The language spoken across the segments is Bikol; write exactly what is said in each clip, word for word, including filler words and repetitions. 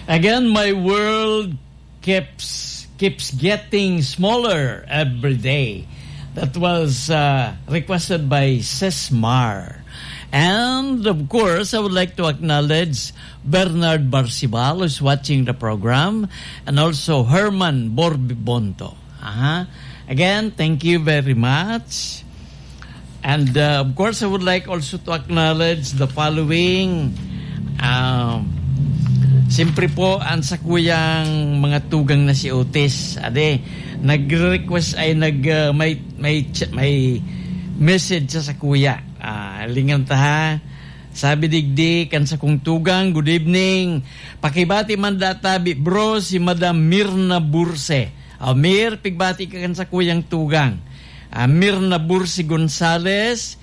Again, my world keeps keeps getting smaller every day. That was uh, requested by Sesmar. And of course, I would like to acknowledge Bernard Barcibal, who's watching the program, and also Herman Borbibonto. Aha. Again, thank you very much. And uh, of course, I would like also to acknowledge the following. Um, siyempre po, ang sa kuyang mga tugang na si Otis. Ade, nagre-request ay nag, uh, may, may, ch- may message sa, sa kuya. Ah, lingan ta ha. Sabi digdi kan sa kong tugang, "Good evening. Pakibati man databi, bro, si Madam Mirna Burse." Oh, Mir, pigbati ka kan sa kuyang tugang. Ah, Mirna Burse Gonzales,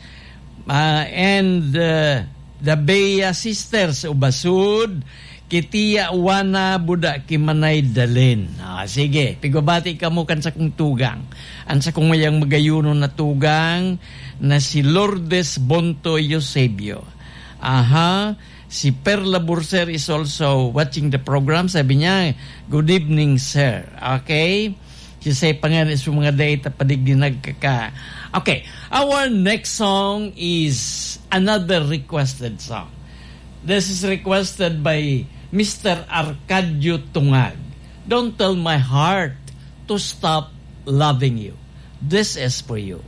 ah, and uh, the Bea Sisters, Ubasud, Kitia Wana Buda Kimanay Dalin. Ah, sige, pigbabati kamo kan sa kong tugang. Ang sa kong mayang magayunon na tugang na si Lourdes Bonto Eusebio. Aha, si Perla Burser is also watching the program. Sabi niya, "Good evening, sir." Okay? Si Say pa nga, is mga data padigdi nagkaka. Okay, our next song is another requested song. This is requested by Mister Arcadio Tungag. "Don't tell my heart to stop loving you. This is for you."